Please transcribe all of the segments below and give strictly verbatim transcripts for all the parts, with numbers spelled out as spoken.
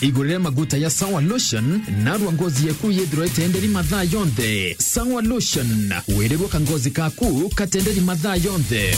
Igurire maguta ya Sawa Lotion, narua ngozi yaku yithirwe itenderi mathaa yonthe. Sawa Lotion, wirirwe ka ngozi kaku katenderi mathaa yonthe.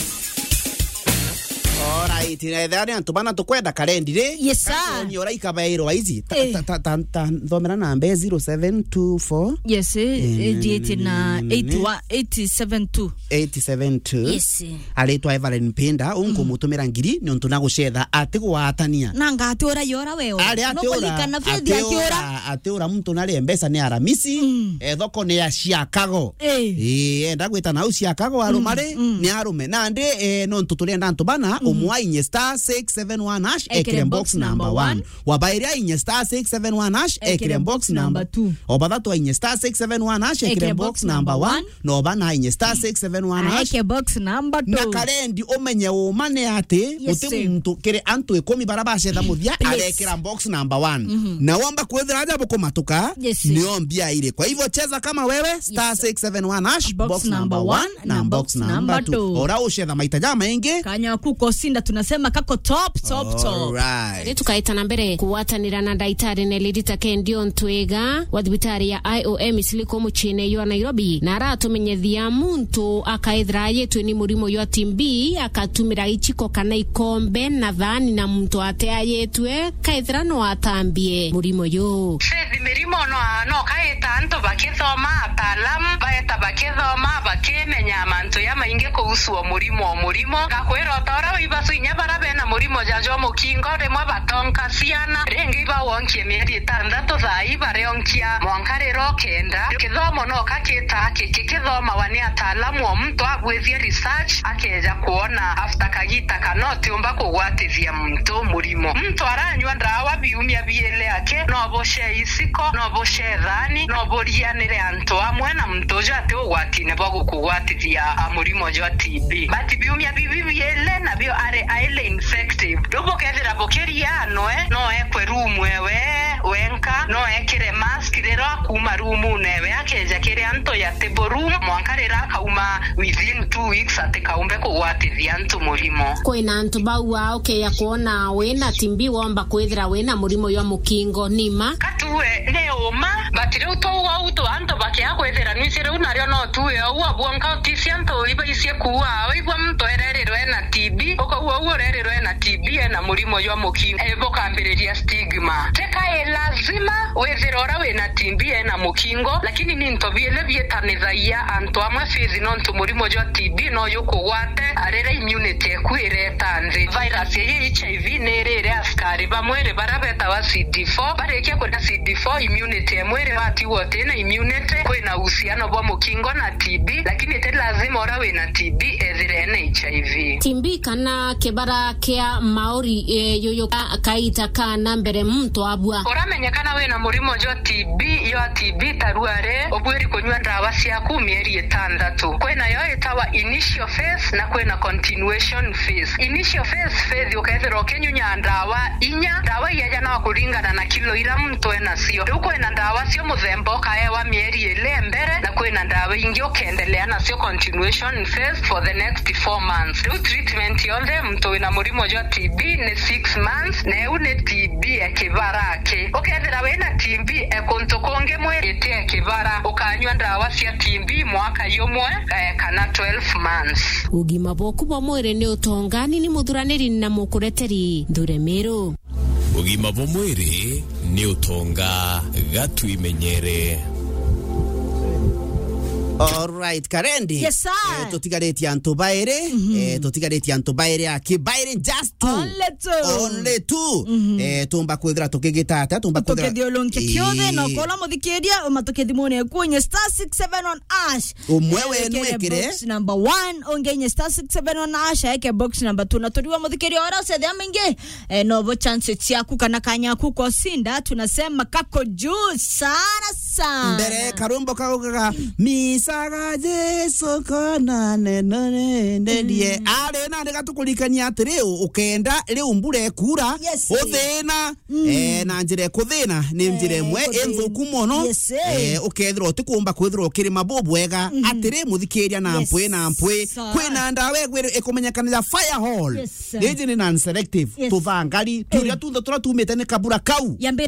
Alright, na ethera ni antu bana tukwenda karendi ri? Yes, sir. Katuonie ura ikabairwa ici. Ta, Eh. ta, ta, ta, ta, thomera namba zero seven two four. Yes, eh, Eh, eighty eight na eight one, eight seven two. Eight seven two. Yes. Aritwa Evelyn Pinda, unkumutumira ngiri, ni untu na gucetha ati gwatania. Na ngati ura yora weo. Ari ati ura, Nokwaririkana Faith ati akiura. ura, ati ura muntu nari Mpesa ni aramisi, Mm. eh, thoko ni ya Chicago. Eh. Eh, enda gwita nau Chicago arume Mm, ri, mm. ni arume. Nandi, eh, nontu turienda antu bana, Mhm. umwe ainye star six seven one hash, Ekire ekire box box number number one. one. Wa bairi ainye star six seven one hash, Ekire ekire box box number number two. O bathatu ainye star six seven one hash, ekire Ekire box box number number one. one. No bana ainye star six seven one hash. Aeke box number Na two. karendi umenye uma ni ati, Yes, guti sir. muntu kiri antu ikumi bara bacetha muthia, Please. arekira box number one. Mhm. Na womba kwithira aja bukumatuka, Yes, sir. nio mbia iri. Kwa hivyo cheza kama wewe, star Yes, sir. six seven one hash, Box box number number one one na na box box number number two. two. Ora ucetha maita ja maingi. Kanya ku kosinda tunasema kako top, top, top. Alright. Ri tukaita na mbere kugwatanira na ndaitari Nelly Rita Kendi Ontwega wa thibitari ya I O M Isili ku muciine jwa Nairobi, na aratumenyethia muntu akaethira ayitwe ni murimo jwa T B, akatumira ichiko kana ikombe na thaani na muntu ateayitwe, kaethira no atambie murimo ju. Faith, mirimo no, no kaita antu bakithoma, ataalamu baeta bakithoma, bakimenya mantu ya maingi kuhusu o murimo, o murimo. Ngakwira o ta uria wibasu inya bara bena murimo ja jwa mukingo, rimwe batonka ciana, ringi ibawonkie mieri itantatu, thaa ii barionkia mwanka riro kenda. Kithomo no kakita kiki kithomawa ni ataalamu, o muntu agwithia research, akeja kwona after kagita kana utiumba kugwatithia muntu murimo. Muntu aranyua ndawa biumia biele aki, no bucee iciko, no bucee thaani, no burianire antu amwe na muntu uju ati ugwatine bwa gukugwatithia, a, murimo jwa T B. But biumia bibi biele nabio ari highly infective. Riu bukethira bukiria noe, no ekwe room ewe wenka, no ekire mask riria akuuma roomune ewe akeja kiri antu ya table room, mwanka riria akauma within two weeks atikaumbe kugwatithia antu murimo. Kwina antu bauaa ukeya kwona wina T B womba kwithira wina murimo jwa mukingo, ni ma? Katue ni uma, but riu twauga uu tu antu bakia kwithira nwisi riu nario no tuwe uu abwonka utisi antu ibaisie kuua, waigua muntu ererirwe ena T B, ukaua uu urerirwe ena T B ena murimo jwa mukingo, e, bukambiriria stigma. Teka i lazima withire uria wina T B ena mukingo, lakini ni into biele bietanithagia antu amwe Faith, nontu murimo jwa T B no jukugwate riria immunity eku ireta nthi. Virus ya H I V ni irire askari ba mwiri baria betawa C D four. Barikia kuria C D four, immunity ya mwiri watigwa utina immunity, kwina uhusiano bwa mukingo na T B, lakini ti lazima uria wina T B ethire ena H I V. T B kana kibara kia mauri, e, yuyu ka-, kaita kana mbere muntu abua. Uramenyekana wina murimo jwa T B, jwa T B tarua ri, ubwiri kunyua ndawa ciaku mieri itantatu. Kwina yo itawa initial phase na kwina continuation phase. Initial phase, Faith, ukethirwa ukinyunya ndawa inya, ndawa ijaja no kuringana na kilo ira muntu enacio. Riu kwina ndawa cio muthemba ukaewa mieri ili mbere, na kwina ndawa ingi ukendelea nacio continuation phase for the next four months. Riu treatment yonthe muntu wina murimo jwa T B ni six months, na iu ni T B ya kibara aki. Ukethira wina T B e kuntu kungi mwiri ti e kibara, ukanyua ndawa cia T B mwaka jumwe, eh, kana twelve months. Ugima bwaku bwa mwiri ni utongani, ni muthuraniri na mukureteri Nthure Miru. Ugima bwa mwiri ni utonga, gatwimenyere. Alright, Karendi. Yes, sir. Eh, tutigaritie antu bairi, Mhm. eh, tutigaritie antu bairi aki, bairi just two. Only two. Only two. Mhm. Eh, tumba kwithira tukigita atia, tumba kwithira Tukithiurunkia kiothe, na Ii. ukola muthikiria, uma tukithimune kunye star six seven on ash. Umwe Eh, wenu ekere ekire. box number one, ungenye star six seven on ash, eke box number two. Na turiwa muthikiria ora ucethia maingi, eh, nobo chance ciaku kana kanyaku kosinda, tunasema kako juu sana sana. Mbere karumbo kaugaga, "Misaga Jesu kona neno nendie." Mm. Ari nandi gatukurikania atiri, u-, ukenda riu mbura ekura, Yes. uthina, Mm. eh, na njira ekuthina, ni njira Eh, imwe kuthina. inthuku mono. Yes, eh. Eh, ukethirwa utikumba kwithirwa ukirima bubwega, Mhm. atiri muthikiria na Yes. mpwi na mpwi. Sa- Kwina ndawa igwiri ikumenyekana ya fire hall. Yes. Riji ni non-selective. Yes. Tuthangari, turia Eh. tunthe turia tumite ni kabura kau. Yambire